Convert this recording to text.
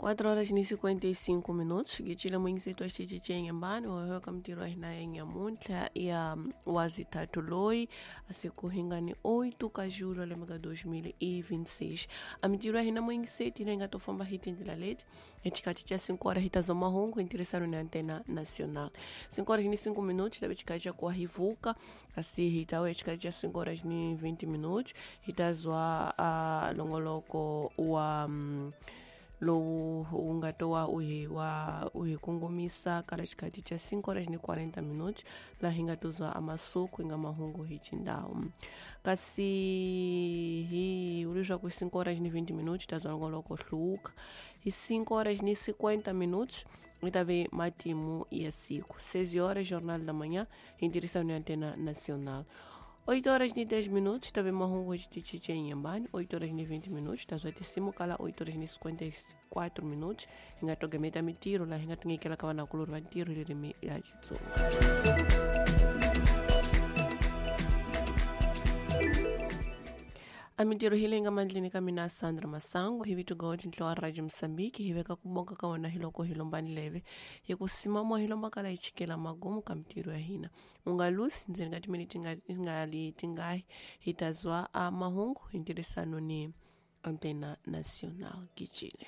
4 horas ni 55 minutos gicile mwingisetu wa xitichi chenyambani wawewe mtiro wa hina ya nyamuntlha ya wazithathu loyi asiku hingani 8 ka julho lembe ka 2026. A mitiro ya hina mwingiseti leyi nga to famba hi tindlela leti hi xikhathi xa 5 horas hi ta zwa mahungu hi ntirhisano ni Antena Nacional. 5 horas ni 5 minutos tabe xikhathi xa kuwa hi vuka, kasi hi ta vuya xikhathi xa 5 horas ni 20 minutos hi ta zwa longoloko wa lowu wu nga to wa u hi wa u hi kongomisa kala xikhathi xa 5 horas ni 40 minutos laha hi nga to zwa amasuku hi nga mahungu hi xindhawu. Kasi hi leswaku 5 horas ni 20 minutos ta zwa longoloko hluka hi 5 horas ni 50 minutos hi ta ve matimu ya siku. 6 horas Jornal da Manhã hi ntirhisano ya Antena Nacional. 8 horas e 10 minutos, também mahungu de Tichiche em Inhambane. 8 horas e 20 minutos, tá zoitíssimo, cala 8 horas e 54 minutos. Hingato mitiro, lá hingato ngekela kawana kuluru wa tiro lirimi ya Xitsonga. A mintirho hi leyi nga mandleni ka mina Sandra Masango hi vito Gold ntlo wa Radio Mozambique hi veka ku bonga ka wena hi loko hi lomba ndleve hi ku sima moya hi lomba kala hi chikela magumu ka mintirho ya hina. U nga lusi ndzeni ka timinete nga li tingahi hi ta zwa a mahungu hi ntirhisano ni Antena Nacional. Gicile.